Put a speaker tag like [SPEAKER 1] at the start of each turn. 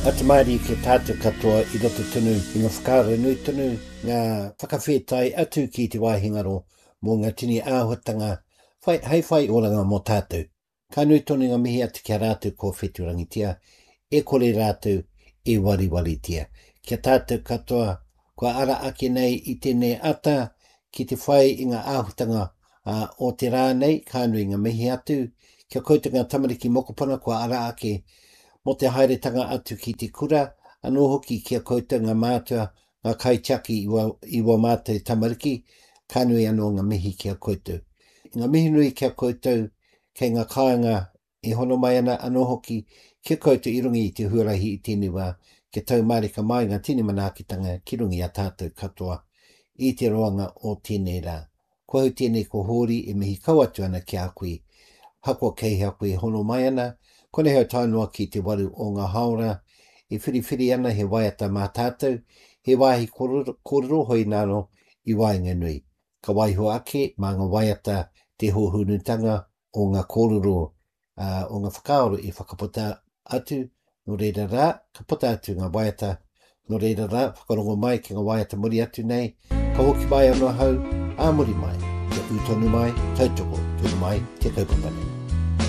[SPEAKER 1] Atu mārie ki a tātou katoa i roto tonu i ngā whakaaro nui tonu, ngā whakawhētai atu ki te wāhi ngaro mō ngā tini āhuatanga whai, hei whai oranga mō tātou. Ka nui tonu ngā mihi atu ki a rātou kua whetūrangitia, e kore rātou e wariwaritia. Ki a tātou katoa kua ara ake nei i tēnei ata ki te whai i ngā āhutanga o te rā nei, ka nui ngā mihi atu ki a koutou ngā tamariki mokopuna kua ara ake mō te haeretanga atu ki te kura, anō hoki ki a koutou ngā mātua, ngā kaitiaki i wā, i wā mātou tamariki, ka nui anō ngā mihi ki a koutou. Ngā mihi nui ki a koutou kei ngā kāinga e hono mai ana anō hoki ki a koutou i runga i te huarahi i tēnei wā, kia tau mārika mai ngā tini manaakitanga ki runga i a tātou katoa i te roanga o tēnei rā. Ko au tēnei ko Hōri e mihi kau atu ana ki a koe. Hakoa kei hea koe e hono mai ana, konei au tae noa ki te waru o ngā hāora e whiriwhiri ana he waiata mā tātou, he wāhi kōrero hoi nāno i waenganui. Ka waiho ake mā ngā waiata te hōhonutanga o ngā kōrero, ā, o ngā whakaaro i whakaputa atu, nō reira rā, ka puta atu ngā waiata, nō reira rā, whakarongo mai ki ngā waiata muri atu nei, ka hoki mai anō ahau, ā muri mai, kia ū tonu mai, tautoko tonu mai te kaupapa nei.